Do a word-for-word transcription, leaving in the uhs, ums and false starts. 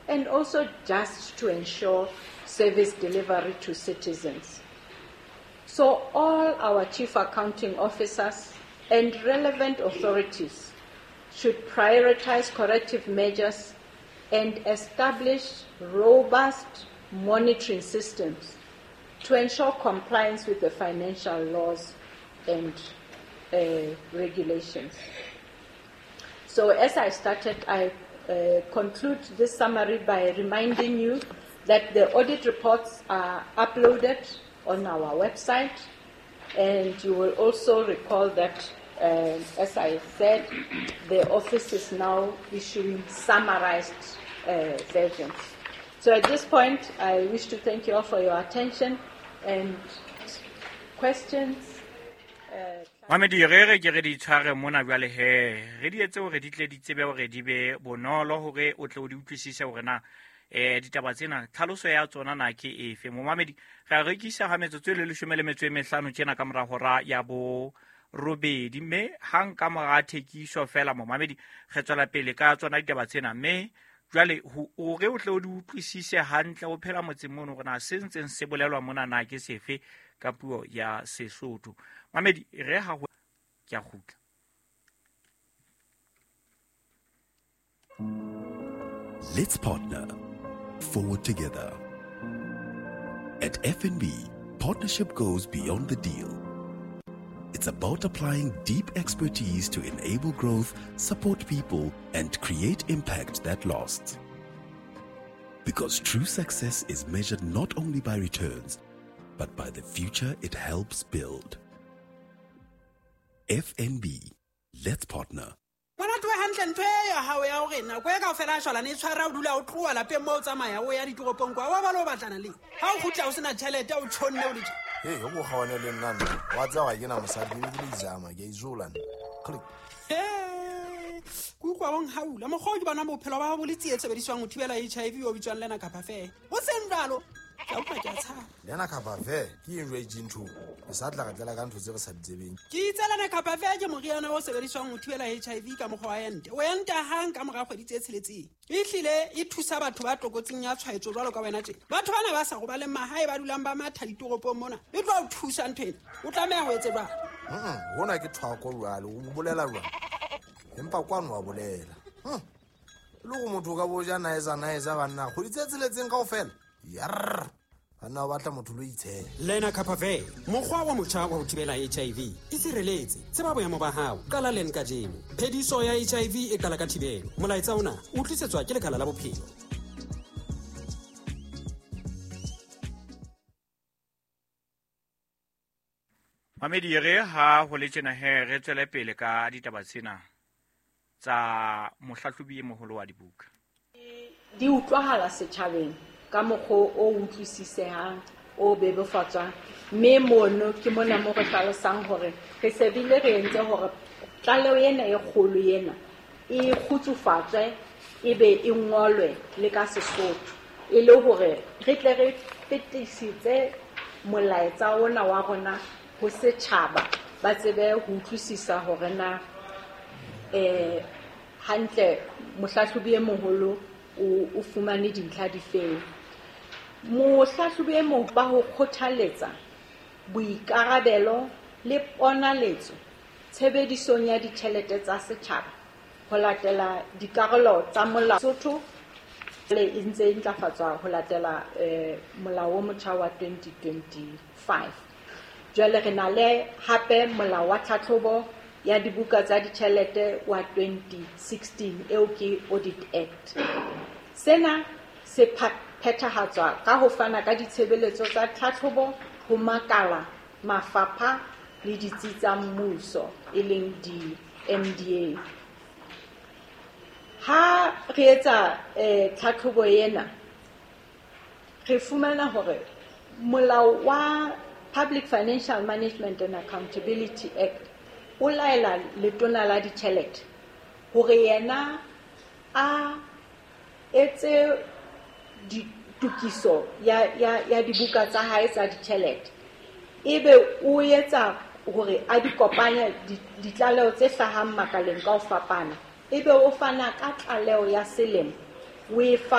and also just to ensure service delivery to citizens. So all our chief accounting officers and relevant authorities should prioritize corrective measures and establish robust monitoring systems to ensure compliance with the financial laws and uh, regulations. So as I started, I uh, conclude this summary by reminding you that the audit reports are uploaded on our website, and you will also recall that, uh, as I said, the office is now issuing summarized, uh, versions. So at this point, I wish to thank you all for your attention and questions. Mamedi, re re ke re di tshware mona jwale he. Re di etse hore di tle di tsebe hore di be bonolo hore o tle o di utlwisise hore na eh ditaba tsena tlhaloso ya tsona na ke efe. Momamedi, re a rekisa ha metsotso e le leshome le metso e mehlano tjena ka mora hora ya bo robedi, mme hang ka mora thekiso fela momamedi re tswela pele ka tsona ditaba tsena, mme jwale hore o tle o di utlwisise hantle o phela motseng mono hore na se ntseng se bolelwa mona na ke sefe ka puo ya Sesotho. Mamedi, re ha ho ke a kgutla. Let's partner forward together. At F N B, partnership goes beyond the deal. It's about applying deep expertise to enable growth, support people, and create impact that lasts. Because true success is measured not only by returns, but by the future it helps build. F N B, let's partner. Ngwana tloha hantle ntho e ya hao ya hore nako e kaofela a shwalane e tshwara o dula o tloha lapeng moo o tsamaya o ya ditoropong kwa, wa ba le o batlana le ha o kgutla o sena tjhelete o tjhonne o le tje. Hey, o go gaone le nna nna. Wa tseba ga ke na mosadi, ke be ke le izama, ke a izola nna. Click. Hey, ke utlwa o nhaula. Mokgwa o ke bona bophelo ba hao bo le tsietsi sebediswang ho thibela H I V o bitswang Lena Kapa Fair. Ho seng jwalo, ke a utlwa ke a tshaba. Lena Kapa Fair ke eng jwale e ntho? Ke sa tla re tlela ka ntho tse re sa di tsebeng. Ke itse Lena Kapa Fair ke moriana o sebediswang ho thibela H I V ka mokgwa wa ente. O enta hang ka mora kgwedi tse tsheletseng. Ehlile e thusa batho ba tlokotsing ya tshwaetso jwalo ka wena tje. Batho bana ba sa robaleng mahae ba dulang ba matha ditoropong mona. E tlo o thusa ntho ena. O tlameha ho etse jwang? Mm, hona ke thwako jwale, o bolela jwang? Empa kwano wa bolela. Hm. Le go motho ka bo ja naeza naeza banna kgwedi tse tsheletseng kaofela. Yarr. Banna ba batla motho lo itshela. Lena Kapa Fair, mokgwa wa motjha wa ho thibela H I V. Itshireletse, tseba boemo ba hao, qala leng kajeno. Phediso ya H I V e qala ka thibelo. Molaetsa ona o tlisetswa ke Lekala la Bophelo. Mamedi, re ha ho le tjena he re tswele pele ka ditaba tsena tsa mohlahlobi e moholo wa dibuka. Di utlwahala setjhabeng ka mokgwa o utlwisisehang, o bebofatswang, mme mono ke mona mo re hlalosang hore re se bile re entse hore tlaleho ena e kgolo ena e kgutsufatswe e be e ngolwe le ka Sesotho, e le hore re tle re fetisitse molaetsa ona wa rona ho setjhaba, ba tsebe ho utlwisisa hore na eh hantle mohlahlobi e moholo o, o fumane dintlha difeng. Mohlahlobi e moholo ba ho kgothaletsa boikarabelo le ponaletso tshebedisong ya ditjhelete tsa setjhaba ho latela dikarolo tsa molao Sotho le e ntse e ntlafatswa ho latela eh, molao o motjha wa twenty twenty-five. Jwale re na le hape molao wa tlhatlhobo ya dibuka tsa ditjhelete wa twenty sixteen eo ke Audit Act. Sena se phethahatswa ka ho fana ka ditshebeletso tsa tlhatlhobo ho makala, mafapha le ditsi tsa mmuso e leng di-M D A. Ha re etsa eh, tlhatlhobo ena, re fumana hore molao wa Public Financial Management and Accountability Act o laela letona la ditjhelete hore yena a etse ditokiso ya, ya, ya dibuka tsa hae tsa ditjhelete, ebe o etsa hore a di kopanye ditlaleho tse hlahang makaleng ka ho fapana, ebe o fana ka tlaleho ya selemo o e fa